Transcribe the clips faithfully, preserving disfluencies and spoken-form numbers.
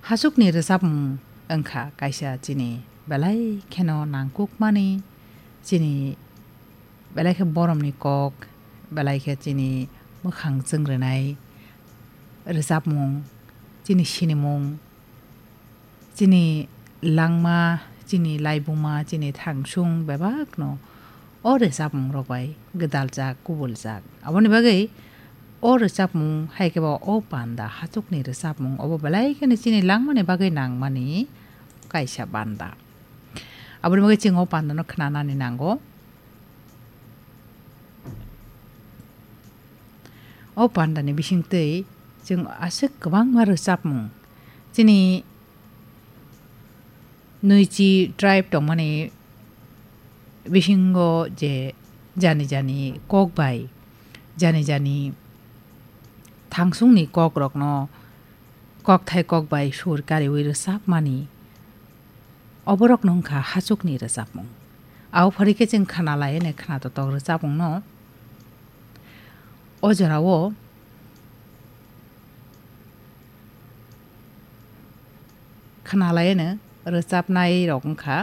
Hachukni rwchapmung wngkha kaisa chini belai kheno nangkukmani, chini belai khe boromni kok, belai khe chini mwkhang chwng rwnai rwchapmung, chini sinimung, chini langma, chini laibuma, chini thangsung bebakno o rwchapmungrok bai gwdaljak, kubuljak. Aboni bagwi o rwchapmung hai khe bo o panda hachukni rwchapmung obo belai kheno chini langmani bagwi nangmani kaisa panda. Aboni bagwi chwng o pandano khnanani nango. O pandani bisingtwi chwng aswk kwbangma rwchapmung, chini nwichi tribe tongmani bisingo je jani jani kok bai, jani jani thangsungni kokrokno kokthai kok bai sur kariui rwchapmani, oborokno wngkha hachukni rwchapmung. Abo phari khe chwng khna lai hwnwi khna totok rwchapmungno o jorao khna lai hwnwi rwchapnairok wngkha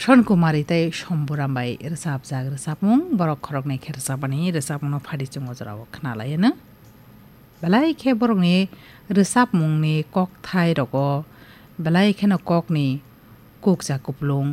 Son Kumari tei Somburam bai rwchapjak rwchapmung, borok khoroknwi khe rwchapmani rwchapmungno phari chwng o jorao khna lai hwnwi. Belai khe borokni rwchapmungni kokthai rogo belai kheno kokni kukcha kuplung,